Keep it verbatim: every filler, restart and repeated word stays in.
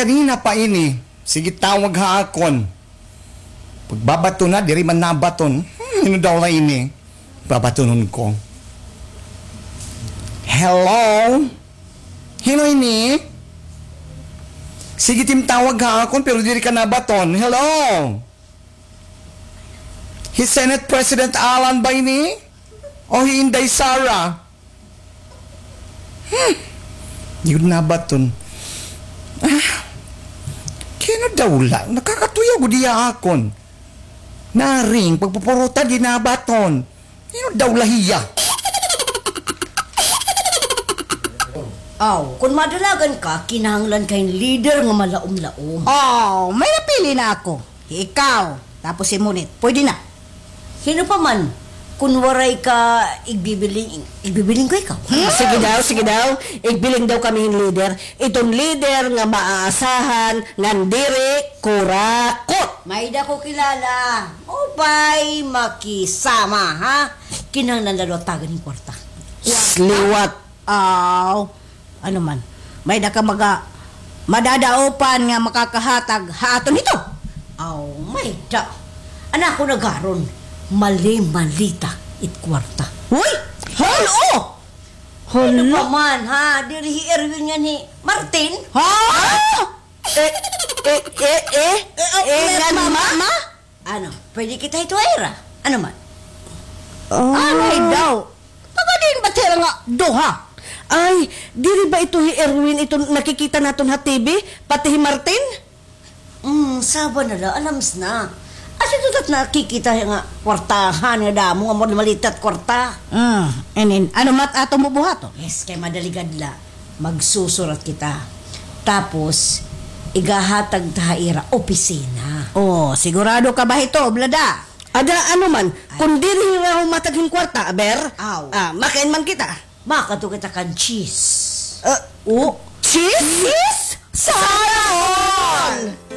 Kanina pa ini. Sige, tawag ha akon. Pagbabaton na, diri man nabaton. Hmm, hin-o daw la ini? Babatonon ko. Hello? Hin-o ini? Sige, tim, tawag ha akon, pero diri ka nabaton. Hello? Hi Senate President Alan ba ini? O hi Inday Sara? Hmm. Yun na ba ton? Ah, kay hin-o daw la? Nakakatuyaw gud hiya ha akon. Naring, pagpupuruta, di nabaton. Hin-o daw la hiya? Aw, kon madalagan ka, kinahanglan ka hin leader nga malaom-laom. Aw, may napili na ako. Ikaw, tapos si Munit. Pwede na. Hin-o pa man, kon waray ka igbibiling, igbibiling ko ikaw. Hmm, sige daw, sige daw. Igbiling daw kami hin leader. Iton leader nga maaasahan, ngan diri kurakot. May-ada ko kilala. Maupay makisama, ha? Kinahanglan la daw tagan hin kwarta. Liwat. Aw, ano man, may-ada ka maga-, madadaopan nga makakahatag ha aton hito? Aw, may-ada. An akon agaron, mali-malita it kwarta. Hoy! Hol-o! Ano Hala? pa man, ha? Diri hi Erwin ngan hi Martin? Ha? Eh, eh, eh, eh, Eh, eh, eh, ngan ma, ma, ma? ma? Ano, pwede kita hito ha ira? Ano man? Ah. Anay daw. Taga diin ba it ira nga duha? Ay, diri ba ito hi Erwin, ito nakikita naton ha T V, pati hi Martin? Hmm, saba na la, alams na. Asya ito tat nakikita nga kwartahan nga damo nga mali-malita it kwarta. Ah, and then, ano man it aton bubuhaton? Yes, kay madaligad la. Magsusurat kita. Tapos, igahatag ta ha ira opisina. Oh, sigurado ka ba hito, Blada? Ada, ano man, kon diri hira humatag hin kwarta, aber? Aw. Ah, makain man kita. Makadto kita kan cheese. Ah, oh, cheese? Cheese? Sana all!